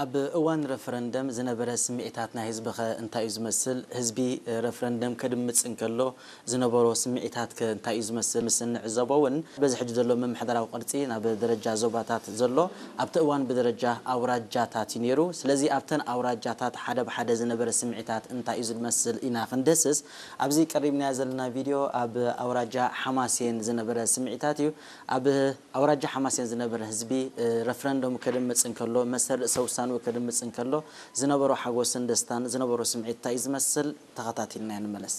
ኣብ እዋን ረፈረንደም ዝነበረ ስምዒታት ናይ ህዝቢ ከ እንታይ እዩ ዝመስል? ህዝቢ ረፈረንደም ከድምጽ እንከሎ ዝነበሮ ስምዒታት ከ እንታይ እዩ ዝመስል? ምስ እንዕዘቦ እውን በዚ ሕጂ ዘሎ ምምሕዳራዊ ቅርጺ ናብ ደረጃ ዞባታት ዘሎ ኣብቲ እዋን ብደረጃ ኣውራጃታት እዩ ነይሩ። ስለዚ ኣብተን ኣውራጃታት ሓደ ብሓደ ዝነበረ ስምዒታት እንታይ እዩ ዝመስል ኢና ክንድህስስ ኣብዚ ቀሪብናዮ ዘለና ቪድዮ ኣብ ኣውራጃ ሓማሴን ዝነበረ ስምዒታት እዩ። ኣብ ኣውራጃ ሓማሴን ዝነበረ ህዝቢ ረፈረንደም ከድምጽ እንከሎ መሰል ርእሰ ውሳንኡ ከድምጽ እንከሎ ዝነበሮ ሓጎስን ደስታን ዝነበሮ ስምዒት እንታይ እዩ ዝመስል? ተኸታቲልና ንመለስ።